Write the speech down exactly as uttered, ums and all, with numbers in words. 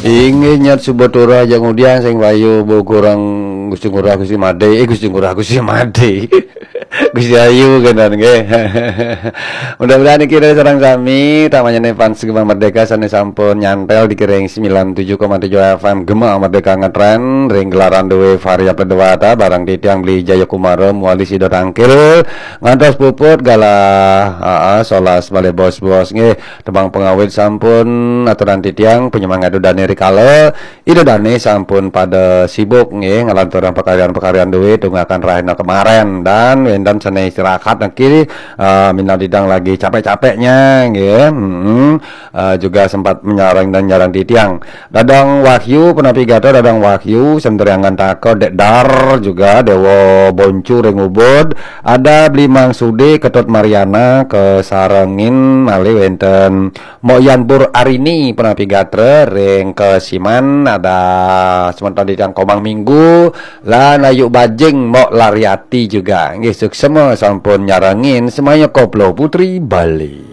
Inggih nyat suba turah jak ngudiang sing payu, Bu Kurang Gusti Ngurah Gusti Madé, eh, Gusti Ngurah Gusti Madé. Gusti Ayu kénten nggih. Mudah-mudahan niki sareng sami tamanyané fans Gema Merdeka sané sampun nyantel di kiring sembilan tujuh koma tujuh F M Gema Merdeka ngetren ring gelaran dué Varia Pedewata bareng titiang Beli Jayakumara muali sida tangkil ngantos puput galah, aa, solas malih bos-bos nggih. Tembang pangawit sampun aturan titiang, panyemangat Ida Dané rikala Ida Dané sampun pada sibuk nggih ngalanturang pakaryan-pakaryan dué tunggakan rahina kemaren, dan wénten sané istirahat niki, eh, minab didang lagi capek-capeknya nggih. Mm-mm. Eh, juga sempat menyarang dan nyarang titiang. Dadang Wahyu, punapi gatra Dadang Wahyu, Sentriangan Taka, Dek Dar juga, Dewa Boncu ring Ubud, ada Bli Mang Sudi, Ketut Mariana, kasarengin malih wénten Mok Yan Bur Arini, punapi gatra ring Kesiman, ada semeton titiang Komang Minggu, lan Ayu Bajing, Mok Lariati juga. Nggih, suksma sampun nyarengin semaya koplo Putri Bali.